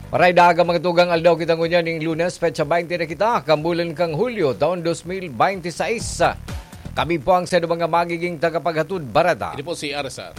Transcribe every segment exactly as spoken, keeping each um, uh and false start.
Maray daga mga tugang aldaw kita ngunyan ning Lunes, petsa baynte na kita, kan bulan kang Hulyo, taon dos mil baynte sais. Kami po ang sa mga magiging tagapaghatod bareta. Ini po si R S R.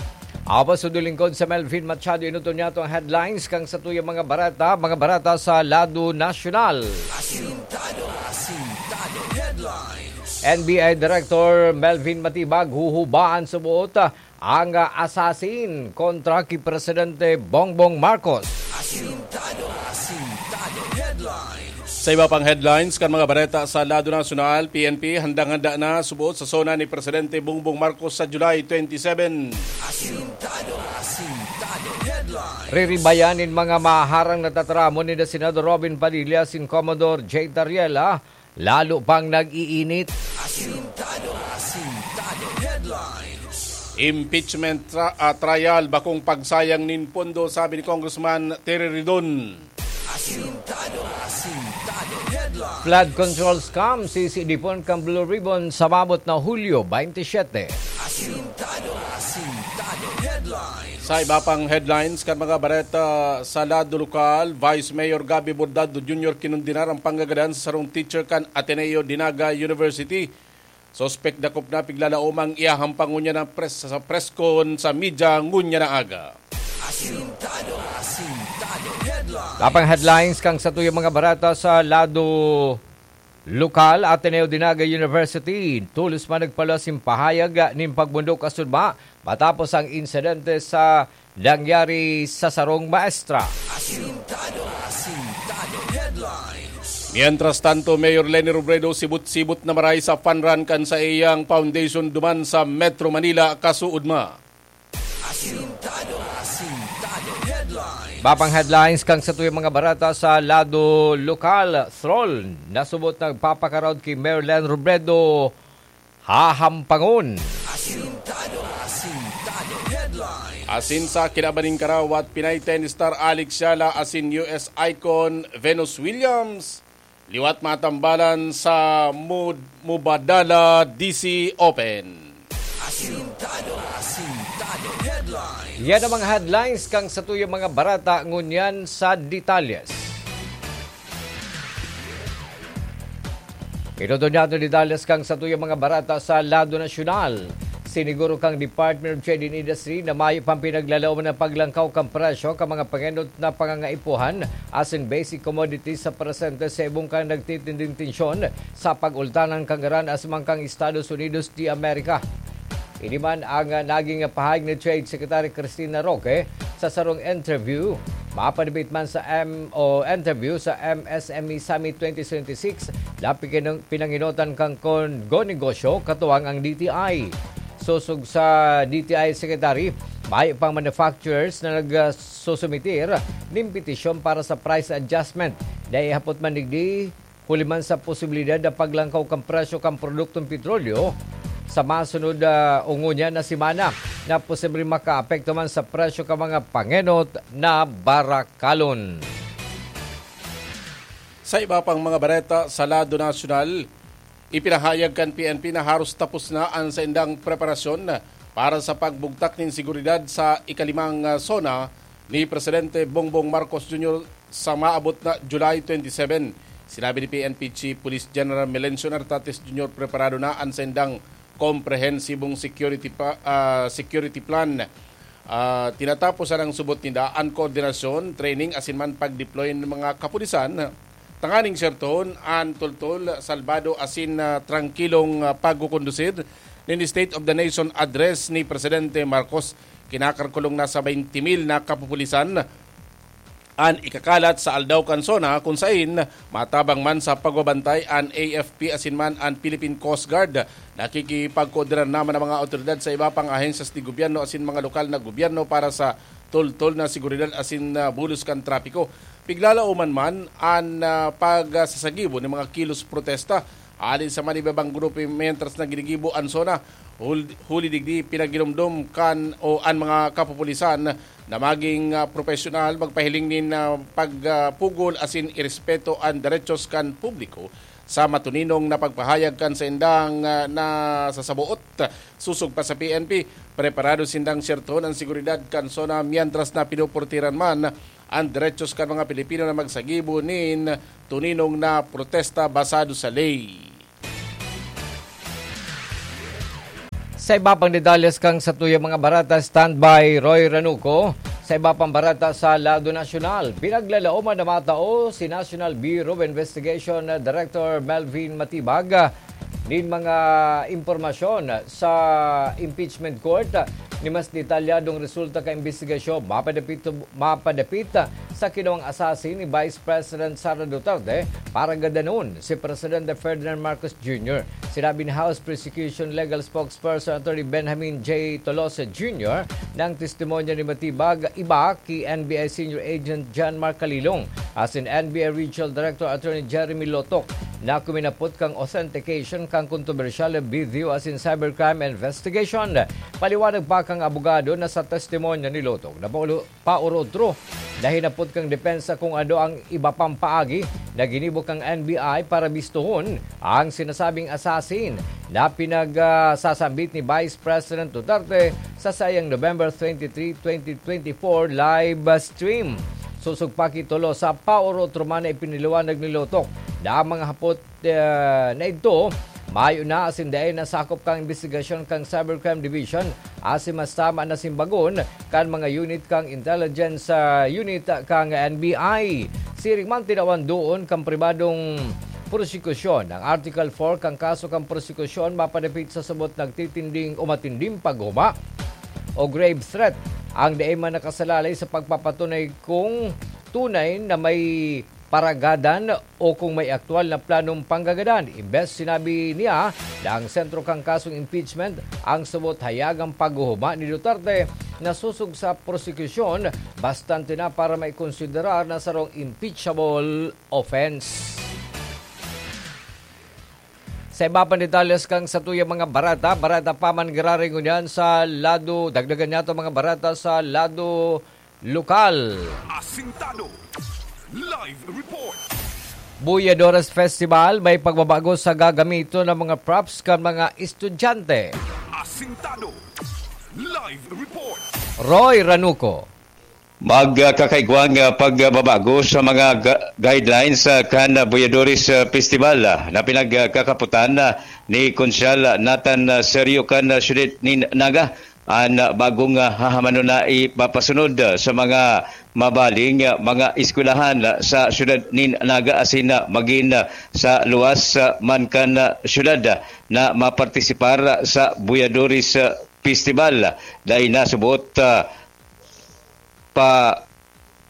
Awa sa lingkod sa Melvin Machado, inuton niya itong headlines kang sa tuyang mga bareta, mga bareta sa lado nasyonal. Asintado, asintado headlines. N B I Director Melvin Matibag huhubaan sa buot ang assassin kontra ki Presidente Bongbong Marcos. Asintado, asintado headlines. Sa iba pang headlines kan mga bareta sa lado nasyonal, P N P handang-handa na subuot sa SONA ni Presidente Bongbong Marcos sa July twenty-seven. Asintado, asintado headlines. Riribayan nin mga maharang na tataramon ni Senador Robin Padilla asin Commodore Jay Tariela, lalo pang nag-iinit. Asintado, asintado headlines. Impeachment tra- ah, trial, bakong pagsayang nin pondo, sabi ni Congressman Terry Ridon. Asintado, asintado headlines. Flood control scam, sisidipon kan Blue Ribbon sa maabot na Hulyo twenty-seven. Asintado, asintado headlines. Sa iba pang headlines kan mga bareta sa lado lokal, Vice Mayor Gabby Bordado Junior kinondenar ang panggagadan sa sarong teacher kan Ateneo de Naga University. Suspek dakop na, piglalaom ang iyahampang ngunyan na pres- sa preskon sa media ngunyan na aga. Asintado, asintado headlines. Sa pang headlines kan sa tuyang mga bareta sa lado lokal, Ateneo de Naga University, tolos man nagpaluwas nin pahayag nin pagmundok asin ma matapos ang insidente sa nangyari sa sarong maestra. Asintado, asintado headlines. Mientras tanto, Mayor Leni Robredo sibot-sibot na maray sa fun run kan sa iyang foundation duman sa Metro Manila, kasuodma. Asintado, asintado headlines. Iba pang headlines kan sa tuyang mga bareta sa lado lokal, Throl, nasubot nagpapakaraot ki Mayor Leni Robredo, hahampangon. Asintado, asintado headlines. Asin sa kinaban nin karawat, Pinay tennis star Alex Yala asin U S icon Venus Williams liwat matambalan sa Mud- Mubadala D C Open. Asintado, asintado headlines. Yan ang mga headlines kan sa tuyang mga bareta, ngunyan sa detalles. Ito to niya detalles kan sa tuyang mga bareta sa lado nasyonal. Siniguro kan Department of Trade and Industry na mayo pang pinaglalaom na paglangkaw kan presyo kan mga pangenot na pangangaipuhan asin basic commodities sa presente sa ibong kan nagtitinding tensyon sa pag-ultanan kan ngaran asin man kan Estados Unidos de America. Ini man ang, ah, naging pahayag ni Trade Secretary Cristina Roque sa sarong interview. Mapadibit man sa M O interview sa M S M E Summit twenty twenty-six na pikinong-, pinanginotan kan Kongo Negosyo katuwang ang D T I. Sosog sa D T I Secretary, mayo pang manufacturers na nagsusumitir nin petisyon para sa price adjustment. Dai hapot man digdi, huli man sa posibilidad na paglangkaw kan presyo kan produktong petrolyo sa masunod, ah, o ngunyan na semana na posibleng makaapekto man sa presyo kan mga pangenot na barakalon. Sa iba pang mga bareta sa lado nasyonal, ipinahayag kan P N P na haros tapos na an saindang preparasyon para sa pagbugtak nin seguridad sa ikalimang, ah, SONA ni Presidente Bongbong Marcos Junior sa maabot na July twenty-seven. Sinabi ni P N P Chief Police General Melencio Nartates Junior, preparado na an saindang komprehensibong security pa, ah, security plan. Ah, tinatapos na ng subot ninda an koordinasyon, training, asin man pag-deploy ng mga kapulisan, tanganing sertohon an tultol, salbado asin, ah, trangkilong, ah, pagkukondusir nin State of the Nation Address ni Presidente Marcos. Kinakalkulong na sa twenty mil na kapupulisan an ikakalat sa aldaw kan SONA, kun sain matabang man sa pagbabantay an A F P asin man an Philippine Coast Guard. Nakikipagkoordinar naman ang mga awtoridad sa iba pang ahensyas ni gobyerno asin mga lokal na gobyerno para sa tultol na seguridad asin, ah, bulos kan trapiko. Piglalaoman man an, ah, pagsasagibo nin mga kilos protesta hali sa man ibabang grupo, mientras na ginigibo an SONA. Hul-, huli digdi, pinaginumdom kan o an mga kapupulisan na maging, ah, propesyonal, magpahiling nin, ah, pagpugol asin irespeto an derechos kan publiko. Sa matuninong na pagpahayag kan saindang, ah, nasasaboot, sosog pa sa P N P, preparado sindang sertohon an seguridad kan SONA, mientras na pinuportiran man an derechos kan mga Pilipino na magsagibo nin tuninong na protesta basado sa ley. Sa iba pang detalles kan satuyang mga barata, standby Roy Ranuco. Sa iba pang barata sa lado nasyonal, pinaglalaoman na matao si National Bureau of Investigation Director Melvin Matibag nin mga impormasyon sa impeachment court ni mas detalyadong resulta ka imbestigasyon mapadapit, mapadapit sa kinawang assassin ni Vice President Sara Duterte para gadanon si Presidente Ferdinand Marcos Junior. Sinabi ni House Prosecution Legal Spokesperson Attorney Benjamin J. Tolosa Junior na ang testimonya ni Matibag iba ki N B I Senior Agent John Mark Calilong asin N B I Regional Director Attorney Jeremy Lotok na kuminapot kan authentication kan kontrobersyal na video asin cybercrime investigation. Paliwanag pa kan abogado na sa testimonya ni Lotok na paulo-, paorotro na hinapot kan depensa kung ano ang iba pang paagi na ginibo kan N B I para bistohon ang sinasabing assassin na pinagsasambit ni Vice President Duterte sa saiyang November twenty-three, twenty twenty-four live stream. Sosog pa ki Tolosa, paorotro man na ipinaliwanag ni Lotok na ang mga hapot, eh, na idto mayo na asin dai na sakop kan imbestigasyon kan Cybercrime Division asin mas tama na simbagon kan mga unit kan intelligence, ah, unit kan N B I. Siring man, tinawan duon kan pribadong prosekusyon ang Article four kan kaso kan prosekusyon mapadapit sa sabot nagtitinding o matinding paghuma o grave threat ang dai man nakasalalay sa pagpapatunay kung tunay na may paragadan o kung may aktual na planong panggagadan. Imbes sinabi niya na ang sentro kan kasong impeachment, ang sabot hayagang paghuhuma ni Duterte na sosog sa prosekusyon, bastante na para maikonsiderar na sarong impeachable offense. Sa iba pang detalles kan satuyang mga barata, barata pa man giraray ngunyan sa lado, dagdagan niyato mga barata sa lado lokal. Asintado. Live report. Buyadores Festival, may pagbabago sa gagamiton ng mga props kan mga estudyante. Asintado. Live report. Roy Ranuco. Magkakaigwang, ah, pagbabago sa mga ga-, guidelines, ah, kan, ah, Buyadores, ah, Festival, ah, na pinagkakapotan, ah, ni Konsyal, ah, Nathan, ah, Serio kan, ah, siyudad nin Naga. An, ah, bagong, ah, hahamanon na ipapasunod, ah, sa mga mabaling, ah, mga eskwelahan, ah, sa siyudad nin Naga asin, ah, magin, ah, sa luwas, ah, man kan, ah, siyudad, ah, na mapartisipar, ah, sa Buyadores, ah, Festival. Dai na subot, ah,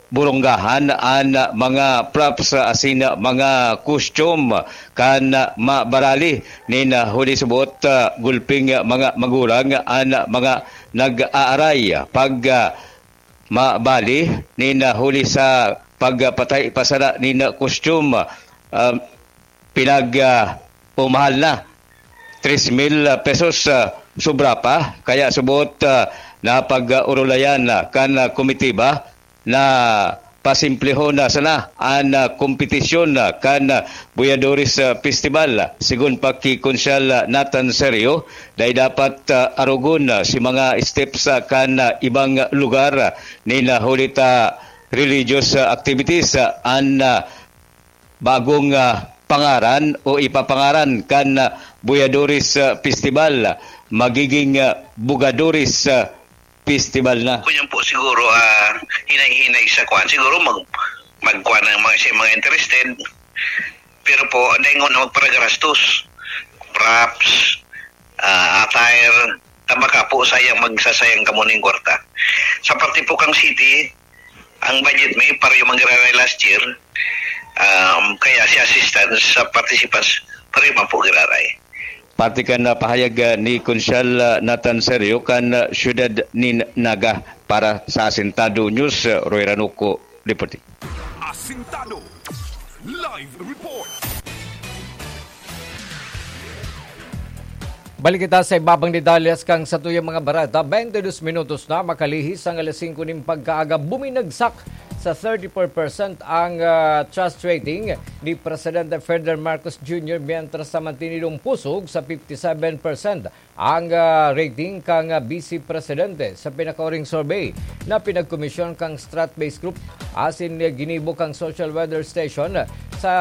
paburunggahan an mga props asin mga costume kan mabarali nin huli subot, ah, gulping mga magurang an mga nag-aaray. Pag, ah, mabali nin huli sa pagpatay pa sana nin costume, ah, pinag, ah, pumahal na tres mil pesos, ah, sobra pa. Kaya subot, ah, na pag-urulayan, ah, kan, ah, komitiba na pasimplihon na sana an, ah, kompetisyon, ah, kan, ah, Buyadores, ah, Festival. Sigon pa ki Konsyal, ah, Nathan Serio, dai dapat, ah, arogon, ah, si mga steps, ah, kan, ah, ibang lugar, ah, nin, ah, huli ta religious, ah, activities, ah, an, ah, bagong, ah, pangaran o ipapangaran kan, ah, Buyadores, ah, Festival, magiging, ah, Bugadores, ah, Festival na. Kunyan po siguro, ah, hinay-hinay sa kwan. Siguro mag-, magkwan ang mga, siya mga interested. Pero po, daingon na magparagarastos. Props, ah, attire, tabaka po sayang, magsasayang kamo ning kwarta. Sa parte po kang city, ang budget may pareho manggiraray last year, um, kaya si assistance sa participants pareho man po giraray. Parte kan, ah, pahayag, ah, ni Konsyal, ah, Nathan Serio kan, ah, siyudad nin Naga. Para sa Asintado News, ah, Roy Ranuco, reporting. Asintado. Live report. Balik kita sa iba pang detalles kan satuyang mga barata. Twenty-two minutos na makalihis ang alas singko nin pagkaaga. Buminagsak sa thirty-four percent ang, ah, trust rating ni Presidente Ferdinand Marcos Junior, mientras sa mantinidong pusog sa fifty-seven percent ang, ah, rating kan, ah, Vice Presidente. Sa pinakauring survey na pinagkomisyon kan Strat-Based Group asin ginibo kan Social Weather Station sa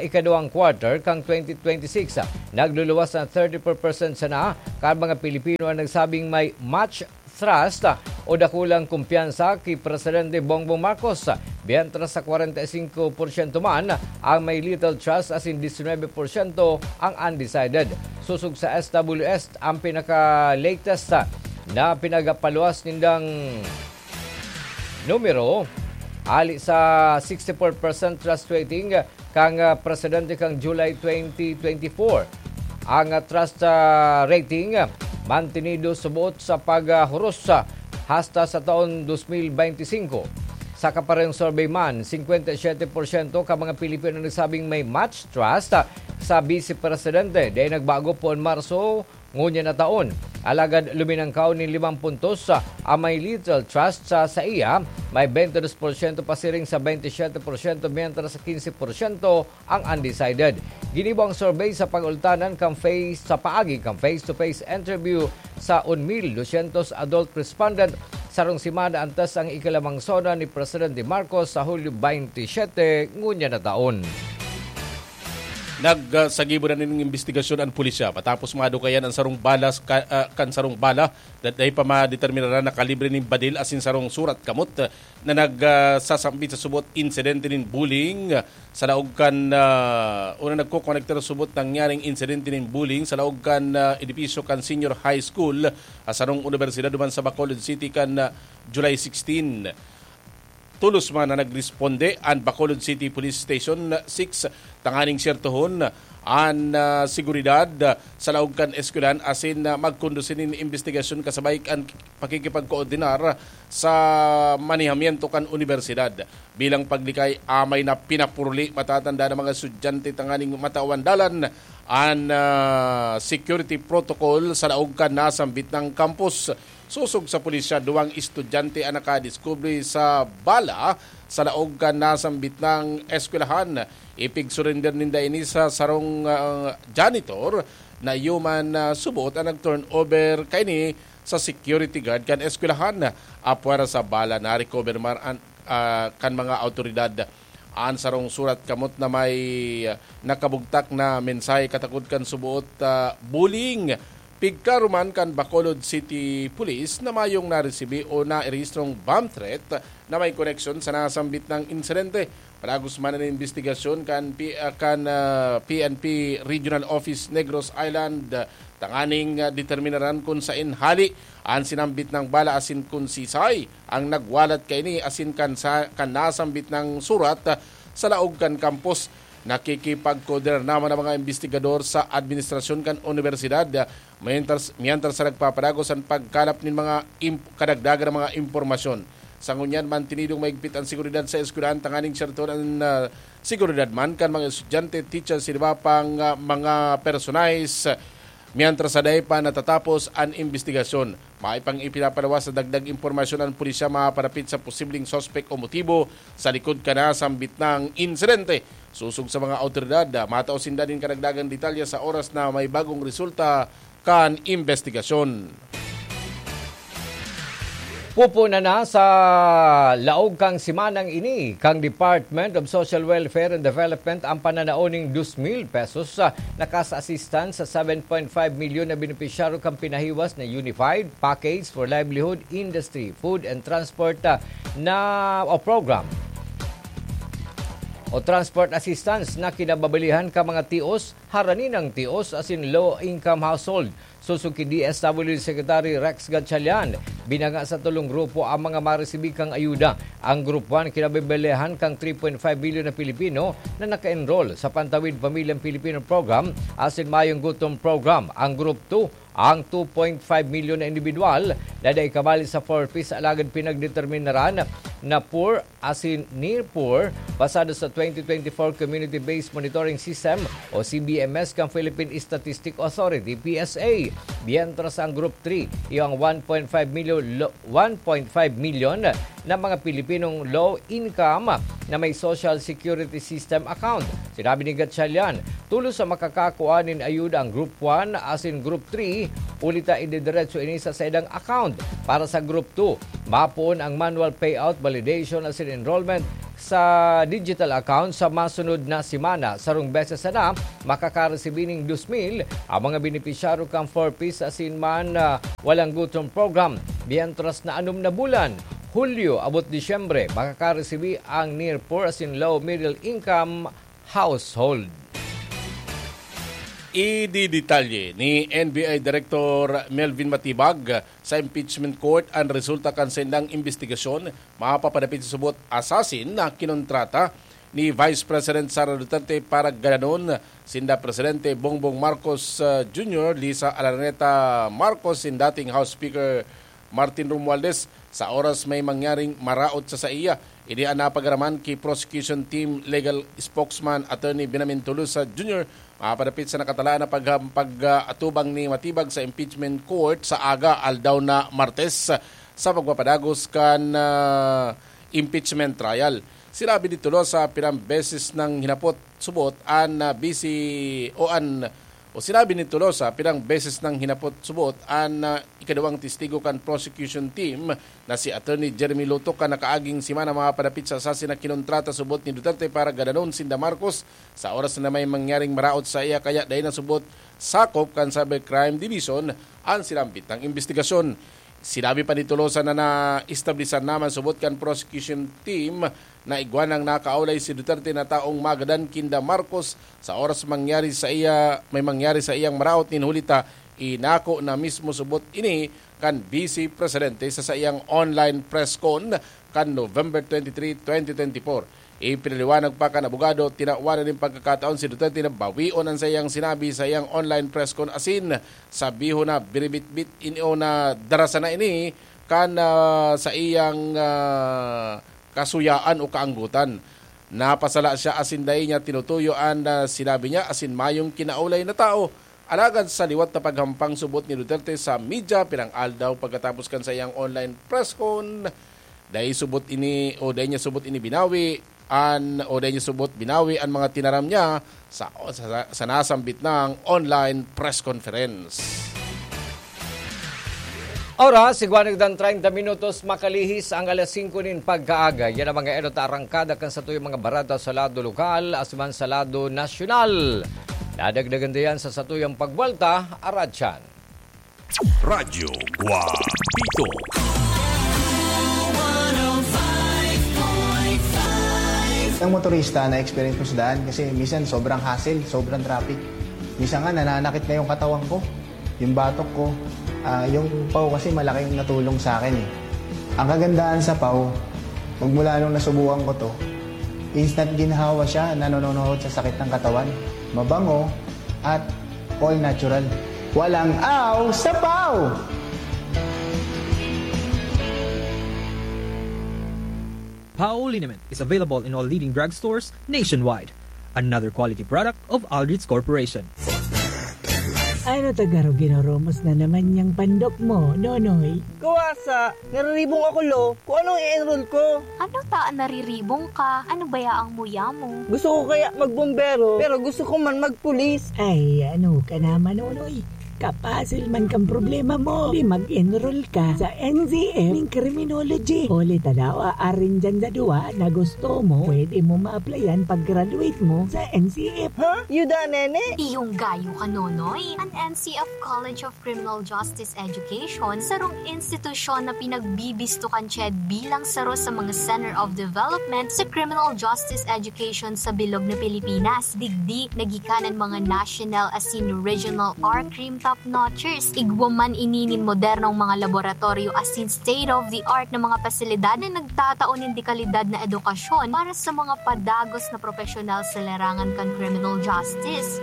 ikaduwang quarter kan twenty twenty-six, nagluluwas na thirty-four percent sana kan mga Pilipino ang nagsabing may much trust o dakulang kumpiyansa ki Presidente Bongbong Marcos, mientras sa kwarenta y singko porsyento man ang may little trust asin disinwebe porsyento ang undecided. Sosog sa S W S, ang pinaka-latest na pinagapaluwas nindang numero, ali sa sixty-four percent trust rating kan, ah, presidente kan July twenty twenty-four. Ang, ah, trust, ah, rating, ah, mantinido suboot sa paghuros, ah, hasta sa taon dos mil bente singko. Sa kaparehong survey man, singkwenta y siyete porsyento ka mga Pilipino nagsabing may much trust, ah, sa Vice Presidente. Dai nagbago poon Marso ngunyan na taon. Alagad luminangkaw nin limang puntos, ah, ang may little trust sa saiya, may bente dos porsyento pasiring sa bente siyete porsyento, mientras sa kinse porsyento ang undecided. Ginibo ang survey sa pag-ultanan kan face, sa paagi kan face-to-face interview sa un mil dosyentos adult respondent, sarong semana antes ang ikalamang SONA ni Presidente Marcos sa Hulyo bente siyete ngunyan na taon. Nagsagibo na nin imbestigasyon an pulisya matapos madukayan an sarong bala ka, ah, kan sarong bala na dai pa madeterminaran na kalibre nin badil asin sarong surat kamot na nag, ah, sasambit sa subot insidente nin bullying sa laog kan, ah, o na nagkokonektar sa subot nangyaring insidente nin bullying sa laog kan, ah, edipisyo kan Senior High School, ah, sarong unibersidad duman sa Bacolod City kan, ah, July sixteen. Tolos man na nagresponde an Bacolod City Police Station six tanganing syertohon an, ah, seguridad, ah, sa laog kan eskwelahan asin, ah, magkondusi nin imbestigasyon kasabay kan pakikipagkoordinar sa manehamiento kan unibersidad. Bilang paglikay, amay na pinapuruli matatanda ng mga estudyante tanganing matawan dalan an, ah, security protocol sa laog kan nasambit na kampus. Sosog sa pulisya, duwang estudyante an nakadiskubre sa bala sa laog kan nasambit na eskwelahan. Ipigsurrender ninda ini sa sarong, ah, janitor na iyo man, ah, subot an nag-turnover kaini sa security guard kan eskwelahan. Apwera sa bala, na-recover man an, ah, kan mga awtoridad an sarong surat kamot na may, ah, nakabugtak na mensahe katakod kan suboot, ah, bullying. Pigklaro man kan Bacolod City Police na mayong naresibi o nairehistrong bomb threat na may koneksyon sa nasambit na insidente. Padagos man an imbestigasyon kan P-, ah, kan, ah, P N P Regional Office Negros Island, ah, tanganing, ah, determinaran kun saen hali an sinambit na bala asin kun sisay ang nagwalat kaini asin kan sa, kan nasambit na surat, ah, sa laog kan kampus. Nakikipagkoordinar naman ang mga imbestigador sa administrasyon kan unibersidad, ah, mientras, mientras sa nagpapadagos an pagkalap nin mga imp-, kadagdagan na mga impormasyon. Sa ngunyan, mantinidong maigpit an seguridad sa eskwelahan tanganing sertoon an, ah, seguridad man kan mga estudyante, teachers, asin iba pang, ah, mga personahes. Mientras sa dai pa natatapos an imbestigasyon, may pang ipinapaluwas sa dagdag impormasyon an pulisya maparapit sa posibleng suspek o motibo sa likod kan nasambit na insidente. Sosog sa mga awtoridad, ah, matao sinda nin karagdagang detalye sa oras na may bagong resulta kan imbestigasyon. Pupunan na sa laog kan semanang ini kan Department of Social Welfare and Development ang pananao ning dos mil pesos, ah, na cash assistance sa seven point five milyon na benepisyaryo kan pinahiwas na Unified Package for Livelihood Industry, Food and Transport, ah, na, o program o transport assistance na kinababalihan kan mga tios, haraninang tios asin low-income household. Sosog ki D S W D Secretary Rex Gatchalian, binanga sa tolong grupo ang mga maresibi kang ayuda. Ang Group one kinababalihan kang three point five milyon na Pilipino na naka-enroll sa Pantawid Pamilyang Pilipino Program asin Mayong Gutom Program. Ang Group two, ang two point five milyon na indibidwal na dai kabali sa four Ps alagad pinagdeterminaran na poor asin near poor, basado sa twenty twenty-four Community-Based Monitoring System o C B M S kan Philippine Statistic Authority, P S A. Mientras ang Group three, iyo ang one point five milyon lo-, one point five milyon na mga Pilipinong low income na may Social Security System account. Sinabi ni Gatchalian, tulos sa makakakua nin ayuda ang Group one asin Group three, huli ta ididiretso ini sa saindang account. Para sa Group two, mapoon ang manual payout, validation asin enrollment sa digital account sa masunod na semana. Sarong beses sana, makakaresibi ning dos mil ang mga benepisyaryo kan Four Ps asin man, ah, Walang Gutom Program, mientras na anom na bulan, Hulyo abot Disyembre, makakaresibi ang near poor asin low middle income household. Ididetalye ni N B I Director Melvin Matibag sa impeachment court an resulta kan saindang imbestigasyon mapapadapit sa subot assassin na kinontrata ni Vice President Sara Duterte para gadanon sinda Presidente Bongbong Marcos, uh, Junior, Lisa Araneta Marcos, sin dating House Speaker Martin Romualdez, sa oras may mangyaring maraot sa saiya. Ini an napagaraman ki Prosecution Team Legal Spokesman Attorney Benjamin Tolosa Junior, mapadapit sa nakatalaan na pag-, pag-, ah, atubang ni Matibag sa impeachment court sa aga aldaw na Martes sa pagpapadagos kan, ah, impeachment trial. Sinabi ni Tolosa, pirang beses nang hinapot subot an, ah, bisi o an, o sinabi ni Tolosa, pirang beses nang hinapot subot an, ah, ikaduwang testigo kan prosecution team na si Attorney Jeremy Lotoc kan nakaaging semana mapapadapit sa assassin na kinontrata subot ni Duterte para gadanon sinda Marcos sa oras na may mangyaring maraot saiya, kaya dai na subot sakop kan Cybercrime Division an sinambit na imbestigasyon. Sinabi pa ni Tolosa na naestablisan na man subot kan prosecution team na igwa nang nakaulay si Duterte na taong magadan kinda Marcos sa oras mangyari saiya, may mangyari saiyang maraot nin huli ta inako na mismo subot ini kan Vice Presidente sa saiyang online press con kan November twenty-three, twenty twenty-four. Ipinaliwanag pa kan abogado, tinawan na nin pagkakataon si Duterte na bawion an saiyang sinabi sa iyang online press con asin sabihon na biribitbit ini o na dara sana ini kan, ah, sa iyang, ah, kasuyaan o kaanggotan. Napasala siya asin dai niya tinutuyo an, ah, sinabi niya asin mayong kinaulay na tao. Alagad sa liwat na paghampang subot ni Duterte sa media pirang aldaw pagkatapos kan saiyang online press con, dai subot ini o dai niya subot ini binawi an, o dai niya subot binawi an mga tinaram niya sa, sa, sa nasambit nang online press conference. Oras, igwa nagdan treinta minutos, makalihis ang alas singko nin pagkaaga. Yan ang mga enot na arangkada kan satuyang mga bareta sa lado lokal, asin man sa lado nasyonal. Nadagdagan diyan sa satuyang pagbuwelta, aratyan. Radyo Guapito. Ang motorista na experience ko sa daan kasi minsan sobrang hassle, sobrang traffic. Minsan nga nananakit na yung katawan ko, yung batok ko. Ah, yung paw kasi malaking natulong sa akin eh. Ang kagandahan sa paw, magmula nung nasubukan ko to, instant ginhawa siya, nanononohod sa sakit ng katawan. Mabango at all natural. Walang aw sa paw! Pao liniment is available in all leading drugstores nationwide. Another quality product of Aldrich Corporation. Ano ta garo, ginoromos na naman yang pandok mo, Nonoy? Kuwasa, nariribong ako, lo. Kung anong i-enroll ko. Ano ta an nariribong ka? Ano baya ang muya mo? Gusto ko kaya magbombero, pero gusto ko man magpulis. Ay, ano ka naman, Nonoy? Kapasil man kan problema mo. Di mag-enroll ka sa N C F nin criminology. Huli ta daw, aarin dyan sa duwa na gusto mo, pwede mo ma-applyan pag-graduate mo sa N C F. Ha? Yuda, nene? Iyong gayo ka, Nonoy. An N C F College of Criminal Justice Education, sarong institusyon na pinagbibisto kan CHED bilang saro sa mga Center of Development sa Criminal Justice Education sa bilog na Pilipinas. Digdi, nagikan an mga national asin regional R-Crime top notchers. Igwa man ini nin modernong mga laboratoryo asin state-of-the-art na mga pasilidad na nagtatao nin dekalidad na edukasyon para sa mga padagos na propesyonal sa larangan kan criminal justice.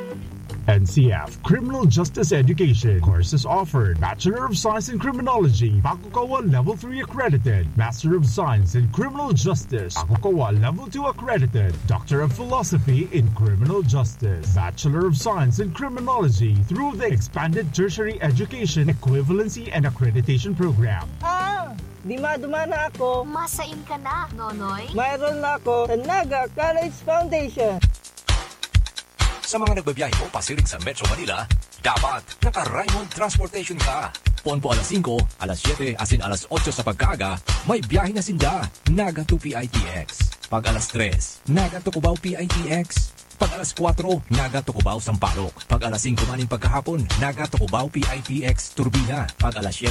N C F Criminal Justice Education courses offered: Bachelor of Science in Criminology, Pakukawa Level three accredited; Master of Science in Criminal Justice, Pakukawa Level two accredited; Doctor of Philosophy in Criminal Justice, Bachelor of Science in Criminology through the Expanded Tertiary Education Equivalency and Accreditation Program. Ah! Di madumana ako. Masain ka na, Nonoy? Mayroon na ako sa Naga College Foundation. Sa mga nagbabiyahe po pasiring sa Metro Manila, dapat naka-Raymond Transportation ka. Poon po alas singko, alas siyete, asin alas otso sa pagkaaga, may biyahe na sinda. Naga to P I T X. Pag alas tres, Naga to Cubao P I T X. Pag alas kwatro, Naga to Cubao Sampaloc. Pag alas singko maning pagkahapon, Naga to Cubao P I T X Turbina. Pag alas